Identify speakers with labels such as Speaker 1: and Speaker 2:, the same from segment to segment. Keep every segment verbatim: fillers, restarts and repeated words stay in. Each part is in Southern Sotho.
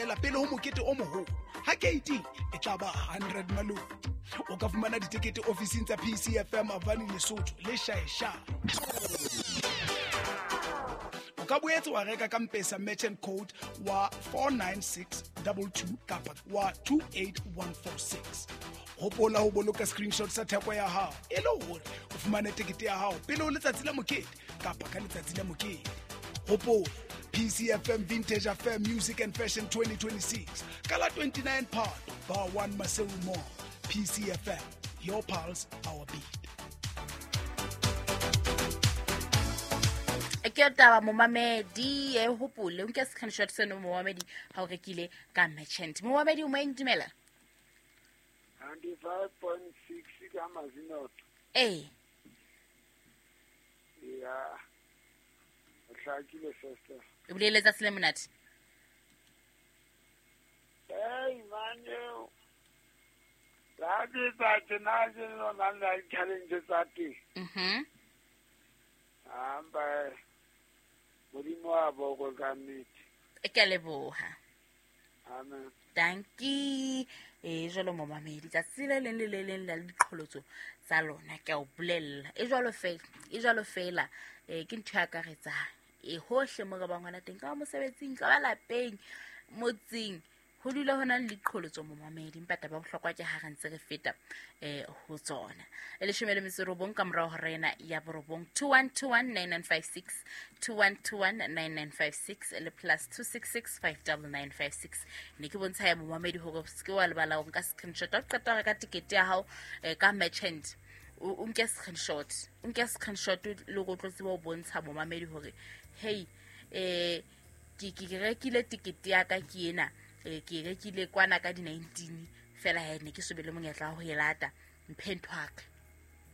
Speaker 1: feela pele ho mokete o moholo. Ha keiting e tla ba hundred malome. O ka fumana ditekete ofising tsa P C F M Avani Lesotho le Shaesha. O ka boetse wa reka ka M-Pesa merchant code wa four nine six two two kapa wa two eight one four six. Hopola ho boloka screenshot sa theko ya hao e le hore o fumane tekete ya hao pele ho letsatsi la mokete kapa ka letsatsi la mokete. Hopola P C F M Vintage Affair Music and Fashion twenty twenty-six ka la twenty-nine Phato Bar one Maseru Mall. P C F M, your pulse, our beat.
Speaker 2: Ke taba momamedi e hopole o nke screenshot seno momamedi ha o rekile ka merchant. Momamedi o moeng dumela.
Speaker 3: ninety-five point six ka Mazinot.
Speaker 2: Eh.
Speaker 3: Yeah. Hlakile sister.
Speaker 2: O bolele tsa sele monate.
Speaker 3: Hey man yo. La di tsa tsena je no na la challenge tsa teng.
Speaker 2: Mhm.
Speaker 3: Amba Modimo wa boko ka nnete.
Speaker 2: Ke a leboha.
Speaker 3: Amen.
Speaker 2: Dankie. E jwalo momamedi tsatsi le leng le le leng la diqholotso tsa lona ke a o bolella. E jwalo fela, e jwalo fela e ke ntho ya akaretsang. E hohle mo re bang hona teng ka mosebetsing, ka ba lapeng, motseng, ho dula hona le diqholotso momamedi empa taba bohlokwa ke ha re ntse re feta eh ho tsona. E leshome le metso robong ka morao ho rena ya borobong two one two one nine nine five six two one two one nine nine five six le plus two six six five nine nine five six. Ne ke bontsha ya momamedi hore se ke wa lebala ho nka screenshot o qeta ho reka tikete ya hao ka merchant. O nke screenshot, o nke screenshot le go tlo tseba ho bontsha momamedi hore hey eh ke ke rekile tikete ya ka ke ena. Ke rekile kwana ka di nineteen fela ha ne ke sobele monyetla ho e lata mphe ntho ya ka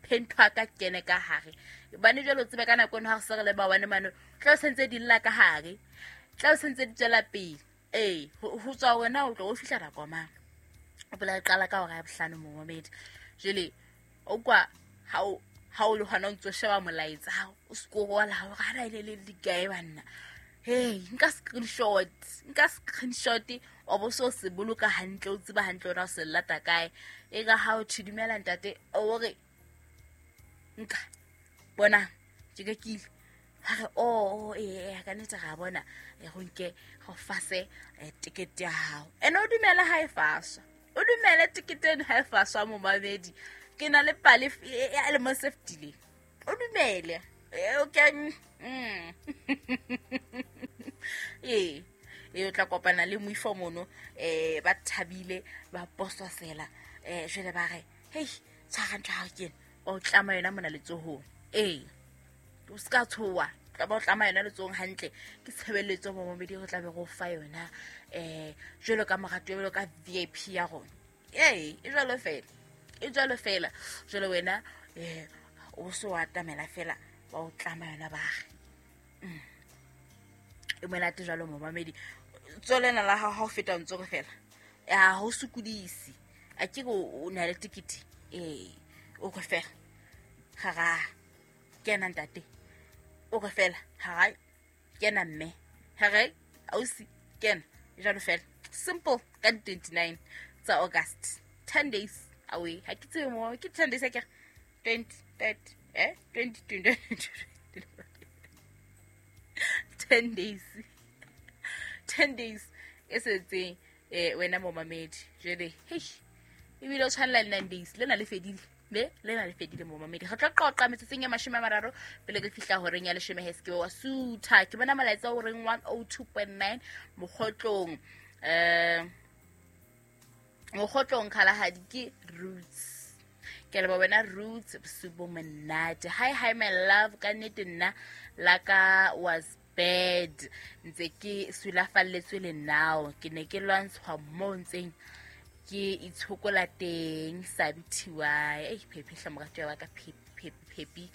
Speaker 2: mphe ntho ya ka kene ka hare bane jwalo tsebe ka nako eno ha re se re le ba wane mane tla o sentse di lla ka hare tla o sentse di tswela pele ee ho tswa wena o tlo o fihla nako mang o bola qala ka hora ya bohlano momamedi jwale o kwa ha o ha o le hona o ntso sheba molaetsa o scrolla hore ha ra ile le dikae banna. Hey, nka screenshot, nka screenshot o bo so se boloka hantle o tseba hantle hore o se lata kae. E ka ha o thidumela ntate o re nka bona ke rekile. Ha re o e ka nnete ra bona e go nke go fase ticket ya hao. Ene o dumela ha e faswa. O dumele ticket eno ha e faswa momamedi. Ke na le pale e le mo safety le. O dumele. Okay. Mm. Eh, e o tla kopana le moifo mono eh ba thabile ba pososela eh jwale ba re hey tshwara ntho ha ke o tlama yona mona letsohong eh o ska tshowa tla ba o tlama yona letsohong hantle ke tshebeletso mo momedi re tla be go fa yona eh jwalo ka morato jwalo ka V I P ya rona eh e jwalo fela e jwalo fela jwalo wena eh o so atamela fela ba o tlama yona ba re e monate jwalo momamedi tswelena la hao ha o feta ntse re fela ya ho sokodise a ke o na le tikiti eh o re fela ga kena ntate o re fela ga kena mme ga re ausi kena jwalo fela simple ka twenty-nine tsa August ten days away ha ke tsebe mo ke ten days a ke twenty thirty eh twenty twenty ten days ten days e setseng eh wena momamedi jwale hey ebile o tshwanela le nine days lena le fedile be lena le fedile momamedi re tla qoqa metsotsong ya mashome a mararo pele ke fihla horeng ya leshome he se ke wa sutha ke bona molaetsa o reng one oh two point nine mokgotlong eh mokgotlong Kgalagadi ke Roots ke le ba wena Roots bosiu monate hi hi my love ka nnete nna la ka was bad ntse ke sulafalletswe le now ke ne ke lwantshwa mo ntseng ke itshokola teng sa bithiwa eh phephe hla morato wa ka phephe phephe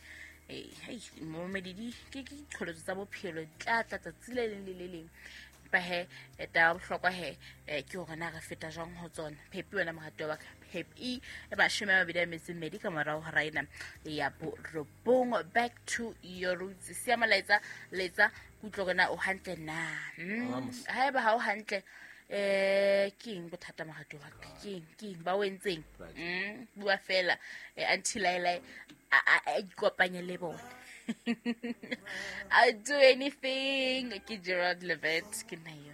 Speaker 2: eh hey momedi di ke ke diqholotso tsa bophelo tla tla tsatsi le leng le le leng ba he eta bohlokwa he ke hore na re feta jwang ho tsona phephe wena morato wa ka phephe e mashome a mabedi a metso e mmedi ka morao ho raena ya borobong back to your roots sia molaetsa letsa kutlo rena o hantle na haeba ha o hantle Eh ke eng bothata morati wa ka? Ke eng ke eng ba o entseng? Mm, bua fela eh, until I like a a ikopanye le bona. I'll do anything. Ke Gerald Levett, ke nna eo.